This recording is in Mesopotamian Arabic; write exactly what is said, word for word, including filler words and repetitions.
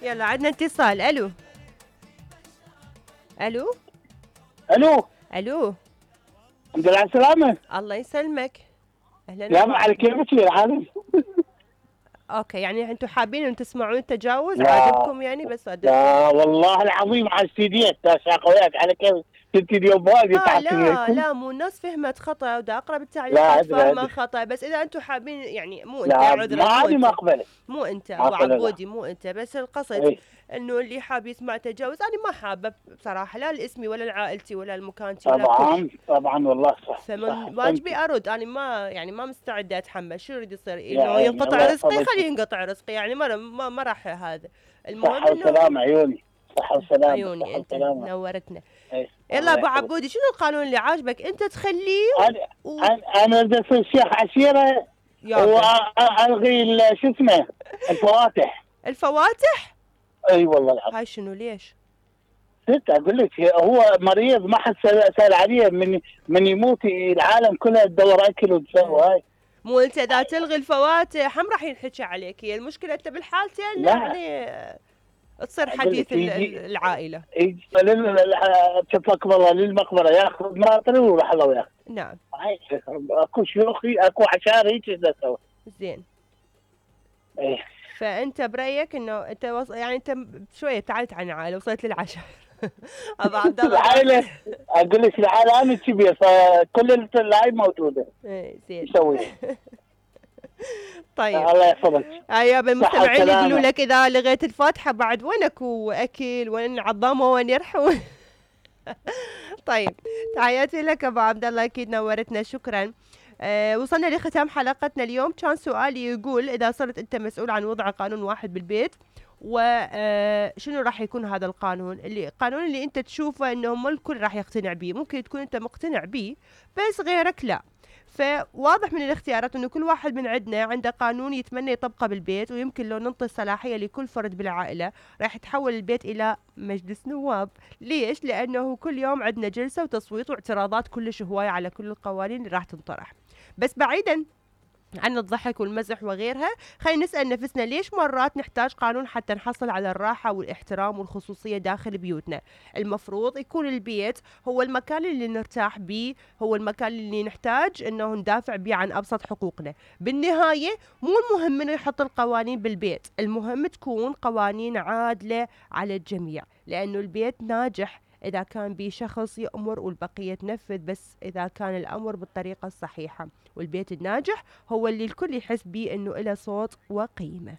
يلا عندنا اتصال. الو الو الو الو الحمد لله على السلامة. الله يسلمك. اهلا يا وسهلا. على كيفك يا العالم. اوكي، يعني انتم حابين ان تسمعون التجاوز؟ لا عاجبكم يعني؟ بس لا والله العظيم على السيديات تاشاق وياك على كيف كنت اليوم وايد لا تعبت لا منكم. لا، مو الناس فهمت خطأ، ودا اقرا لا بالتعليقات ادري فاهمه ادري. خطأ، بس اذا انتم حابين يعني مو انت، لا عذرا، ما مو عادي ما انت اقبل. مو انت ما ابو اقبل لا. عبودي، مو انت، بس القصد اي انه اللي حاب يسمع تجاوز انا ما حابه بصراحه، لا لاسمي ولا لعائلتي ولا لمكانتي ولا كل شيء. طبعا طبعا والله صح صح فمن واجبي احسنتي. ارد، انا ما يعني ما مستعده اتحمل. شو يريد يصير؟ يا انه عيني ينقطع الله رزقي، يحفظك. خليه ينقطع رزقي، يعني ما ما, ما راح هذا. المهم صحة انه وسلامة عيوني. صحة وسلامة عيوني صحة انت وسلامة. نورتنا. اي يلا الله ابو يحفظك. عبودي، شنو القانون اللي عاجبك انت تخليه انا و... انا انا بدي اصير شيخ عشيرة يابا والغي ال- شو اسمه الفواتح. الفواتح؟ اي والله العظيم. هاي شنو ليش؟ ست اقول لك هو مريض ما حد سال سأل عليه من من يموت العالم كلها تدور اكل وتسوي هاي. مو انت اذا تلغي الفواتح هم راح ينحكى عليك، هي المشكله انت بالحالتين لا يعني تصير اقول حديث لك يجي العائله. يجي تفك والله للمقبره ياخذ ماطري ويروح الله وياخذ. نعم اكو شيوخي اكو عشار هيك اسوي. زين. ايه فانت برايك انه انت وص... يعني انت شويه ابتعدت عن العائله، وصلت للعشاء. ابو عبد الله العائله اقول لك العائله انا كبير فكل الهاي موجوده. ايه زين. نسوي طيب الله يحفظك. يا المستمعين صحة يقولوا وسلامة. لك اذا لغيت الفاتحه بعد وين اكو اكل، وين عظامه، وين يرحون؟ طيب تحياتي لك ابو عبد الله، اكيد نورتنا، شكرا. أه وصلنا لختام حلقتنا اليوم. كان سؤالي يقول اذا صرت انت مسؤول عن وضع قانون واحد بالبيت، وشنو راح يكون هذا القانون؟ اللي القانون اللي انت تشوفه انه مو الكل راح يقتنع به، ممكن تكون انت مقتنع به بس غيرك لا. فواضح من الاختيارات انه كل واحد من عندنا عنده قانون يتمنى يطبقه بالبيت، ويمكن لو ننطي الصلاحيه لكل فرد بالعائله راح يتحول البيت الى مجلس نواب. ليش؟ لانه كل يوم عندنا جلسه وتصويت واعتراضات كلش هوايه على كل القوانين اللي راح تنطرح. بس بعيدا عن الضحك والمزح وغيرها، خلينا نسأل نفسنا ليش مرات نحتاج قانون حتى نحصل على الراحة والاحترام والخصوصية داخل بيوتنا؟ المفروض يكون البيت هو المكان اللي نرتاح بيه، هو المكان اللي نحتاج انه ندافع بيه عن ابسط حقوقنا. بالنهاية مو المهم انه يحط القوانين بالبيت، المهم تكون قوانين عادلة على الجميع، لانه البيت ناجح إذا كان بيه شخص يأمر والبقية تنفذ، بس إذا كان الأمر بالطريقة الصحيحة. والبيت الناجح هو اللي الكل يحس بيه إنه له صوت وقيمة.